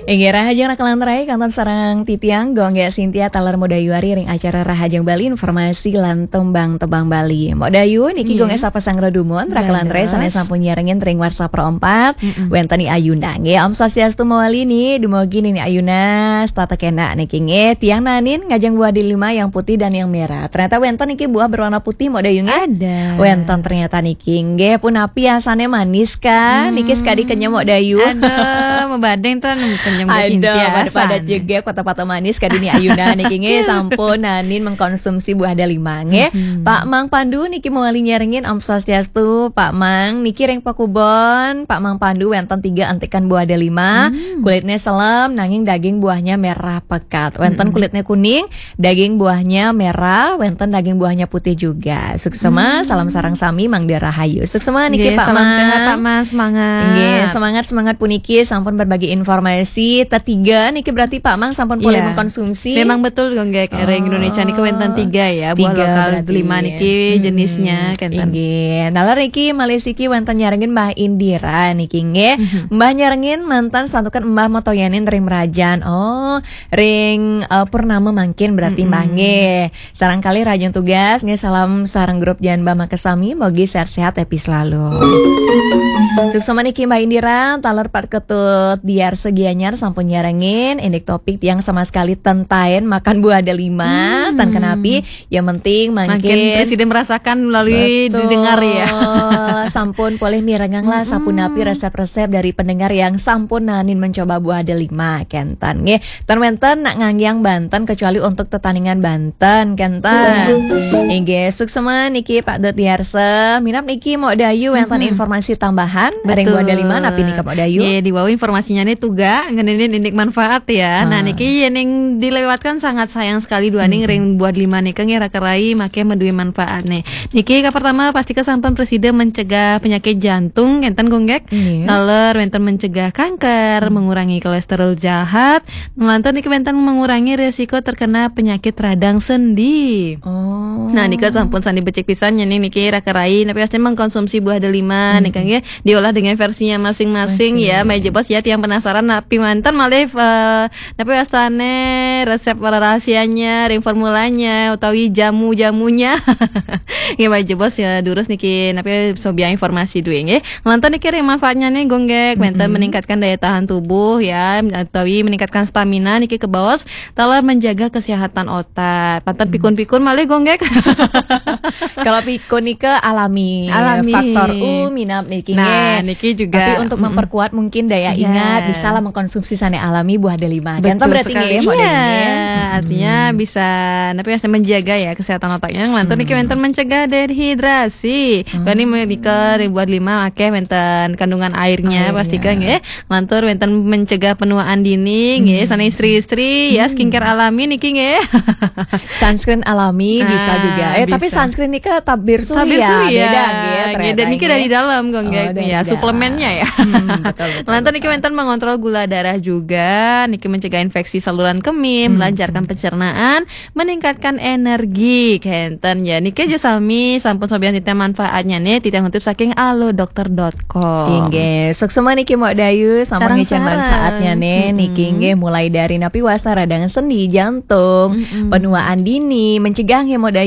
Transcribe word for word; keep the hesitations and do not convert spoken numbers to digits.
Inggih, rahajeng raka lan rai, kantun sareng titiang Gung Gek Sintia taler Mok Dayu ari ring acara Rahajeng Bali, informasi lan tembang-tembang Bali. Mok Dayu niki, Gung Gek, sapa sang redumun, raka lan rai sané sampun nyarengin ring warsa pro empat, wénten Ni Ayuna nggih. Om Swastiastu mawali Ni, dumugi Ni Ayuna setata kenak niki nggih. Tiang nanin ngajeng buah delima yang putih dan yang merah. Ternyata wénten niki buah berwarna putih, Mok Dayu nggih. Ada. Wénten ternyata niki nggih. Punapi asané manis kah? Niki sekadi kenyem, Mok Dayu. Aduh, mabading ten kenyem. Aduh, pada-pada jegeg, pata-pata manis kadi Ni Ayuna niki nggih, sampun nanin mengkonsumsi buah delima nggih. Pak Mang Pandu niki mawali nyarengin, Om Swastiastu, Pak Mang. Niki ring pakubon Pak Mang Pandu wénten tiga entikan buah delima. Kulitnya selem nanging daging buahnya merah pekat. Wénten kulitnya kuning, daging buahnya merah, wénten daging buahnya putih juga. Suksema, salam sareng sami, mangda rahayu. Suksema niki, Pak Mang. Nggih, salam sehat, Pak Mang, semangat. Nggih, semangat, semangat puniki, sampun berbagi informasi. Tetiga niki berarti Pak Mang sampun polih mengkonsumsi. Memang betul, Gung Gek. Ring Indonesia niki wénten tiga ya, buah lokal delima niki jenisnya, kenten. Inggih. Taler niki malih siki wénten nyarengin Mbah Indira niki nggih. Mbah nyarengin mantan santukan Mbah Motoyanin ring Merajan. Oh, ring, eh, Purnama mangkin berarti Mbah nggih. Sareng kalih rahajeng tugas nggih, salam sareng grup Jan Mbah makasami, mogi sehat-sehat, happy selalu. Suksema niki Mbah Indira, taler Pak Ketut Diarsa Gianyar sampun nyarengin, indik topik tiang sama sekali ten taén makan buah delima, tan kenapi, yang penting mangkin presida merasakan melalui didengar ya. Sampun polih mirengang lah sapunapi resep-resep dari pendengar yang sampun nanin mencoba buah delima, kenten nggih. Tan wénten nak nganggiang banten kecuali untuk tetandingan banten, kenten. Inggih, suksema niki Pak Dut Diarsa. Minab niki Mok Dayu wénten informasi tambahan ring buah delima, napi nika, Mok Dayu? Nggih, diwau informasinya nih tuga ngeninin indik manfaat ya. Nah, niki yéning dilewatkan sangat sayang sekali duaning ring buah delima nika nggih, raka rai, maké madué manfaat nih. Niki ka pertama pasti kesampun presida mencegah penyakit jantung, kenten, Gung Gek. Taler wénten mencegah kanker, mengurangi kolesterol jahat, nglantur niki wénten mengurangi risiko terkena penyakit radang sendi. Oh. Nah, nika sampun sandi becik pisan nya nih niki raka rai, napi wastani mengkonsumsi buah delima nika nggih, diolah dengan versinya masing-masing ya. Mai jebos ya tiang penasaran napi manten malih, eh, napi wastane resep rahasianya, ring formulanya utawi jamu-jamunya. Nggih, mai jebos ya durus niki napi sobiang informasi duwe nggih. Nglantur niki ring manfaatnya nih, Gung Gek, wénten meningkatkan daya tahan tubuh ya, utawi meningkatkan stamina niki kebaos, taler menjaga kesehatan otak. Panten pikun-pikun malih, Gung Gek. Kalau pikun nika alami. Alami. Faktor U minab niki nggih. Nah, niki juga. Tapi untuk memperkuat mungkin daya ingat, bisa lah mengkonsumsi sane alami buah delima. Betul sekali. Kenten berarti nggih, Mok Dayu nggih. Iya, artinya bisa, napi wastani menjaga ya kesehatan otaknya. Nglantur niki wénten mencegah dehidrasi. Bani menika ring buah delima akeh wénten kandungan airnya, pasti kan nggih. Nglantur wénten mencegah penuaan dini nggih, sane istri-istri ya, skincare alami niki nggih. Sunscreen alami bisa juga. Eh, tapi sunscreen nika tabir suhi ya, beda nggih, ternyata niki dari dalam, Gung Gek. Oh, dari dalam. Ya, suplemennya ya. Betul, betul. Nglantur niki wénten mengontrol gula darah juga, niki mencegah infeksi saluran kemih, melancarkan pencernaan, meningkatkan energi, kenten ya. Niki aja sami sampun sobian titiang manfaatnya nih, titiang kutip saking alodokter dot com. Inggih, suksema niki Mok Dayu, sampun ngicen manfaatnya nih. Niki nggih mulai dari napi wasta radang sendi, jantung, penuaan dini, mencegah nggih Mok Dayu.